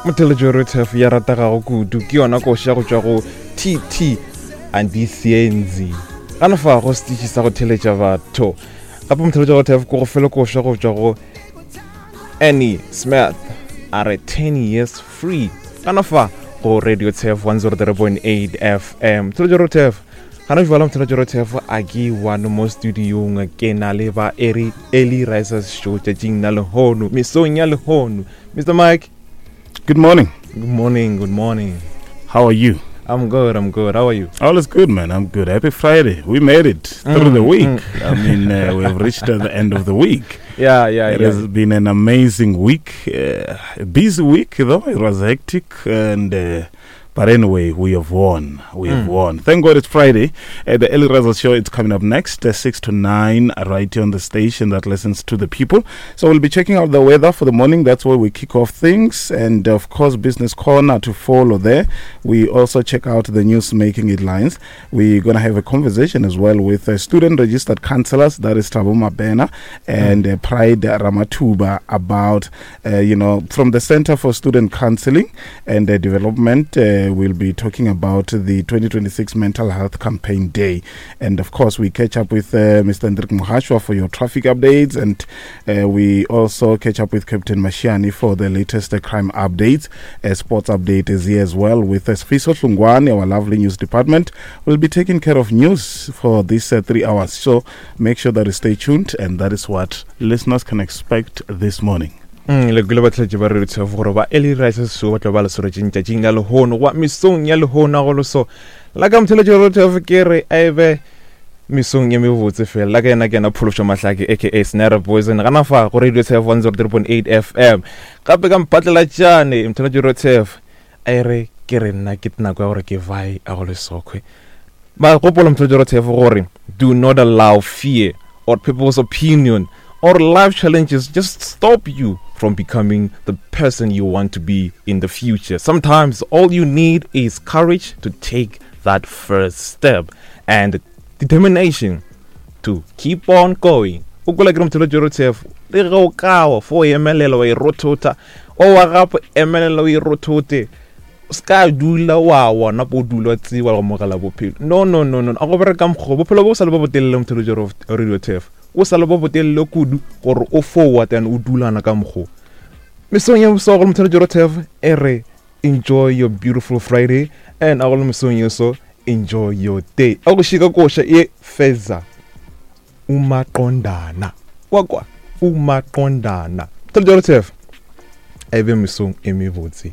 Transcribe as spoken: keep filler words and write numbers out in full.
Motheletšo Rotef ya ratagago kudu ke yona koša go tšwa go T T Andisienzi gana fa go setiši sa go theletša batho. Gape motheletšo Rotef ko go fele koša go tšwa go Annie Smith a re ten years free gana fa go Radio Tef one oh three point eight F M. Motheletšo Rotef gana jwala, motheletšo Rotef a ke one mo studiong ke na le ba Early Early Risers Show tšatšing la lehono, mesong ya lehono. Mister Mike. Good morning. Good morning, good morning. How are you? I'm good, I'm good. How are you? All is good, man. I'm good. Happy Friday. We made it through the Mm, week. mm. I mean, uh, we've reached uh, the end of the week. Yeah, yeah, It yeah. has been an amazing week. Uh, a busy week, though. It was hectic. And uh, but anyway, we have won. We have Mm. won. Thank God it's Friday. Uh, the Early Risers Show is coming up next, uh, six to nine, uh, right here on the station that listens to the people. So we'll be checking out the weather for the morning. That's where we kick off things. And of course, Business Corner to follow there. We also check out the news making headlines. We're going to have a conversation as well with uh, student registered counselors, that is Tabo Mabena and uh, Pride Ramatuba, about, uh, you know, from the Center for Student Counseling and uh, Development. Uh, we'll be talking about the twenty twenty-six Mental Health Campaign Day. And of course, we catch up with uh, Mister Hendrik Mohashwa for your traffic updates. And uh, we also catch up with Captain Mashiani for the latest uh, crime updates. A sports update is here as well with uh, Sfiso Hlungwani, our lovely news department, will be taking care of news for these uh, three hours. So make sure that you stay tuned. And that is what listeners can expect this morning. Mm, le kwele batlhetše ba Radio Tef gore ba Early Risers Show ba tlo ba le swaretšeng tšatšing la lehono goba mesong ya lehono. A go leso la ka motheletšo Radio Tef ke re a e be mesong ye mebotse fela. La ka yena ke yena Phološo Mahlake aka Snare Poison gana fa go Radio Tef one oh three point eight F M. Gape ka mpatlela tšane motheletšo Radio Tef a e re ke re nna ke nako ya gore ke vae a go lesokgwe ba gopola motheletšo Radio Tef gore do not allow fear or people's opinion or life challenges just stop you from becoming the person you want to be in the future. Sometimes all you need is courage to take that first step and determination to keep on going. O kwela ke re motheletšo Rotef le ge o kawa fo o emelela wa e rothota o wa gape emelela o e rothote o se ka dula wa wona po o dula wa tsewa go mogela bophelo. No, no, no, no, a go bereka mokgwa bophelo bo sa le bo botelele. Motheletšo Radio Tef o sa le bo botelele kudu gore o forward and o dulana ka mokgwa mesong ya bosogo. Motheletšo Rotef e re enjoy your beautiful Friday and a go le mesong yeso enjoy your day. A go šika koša e feza umaqondana kwakwa umaqondana. Motheletšo Rotef a e be mesong e mebotse.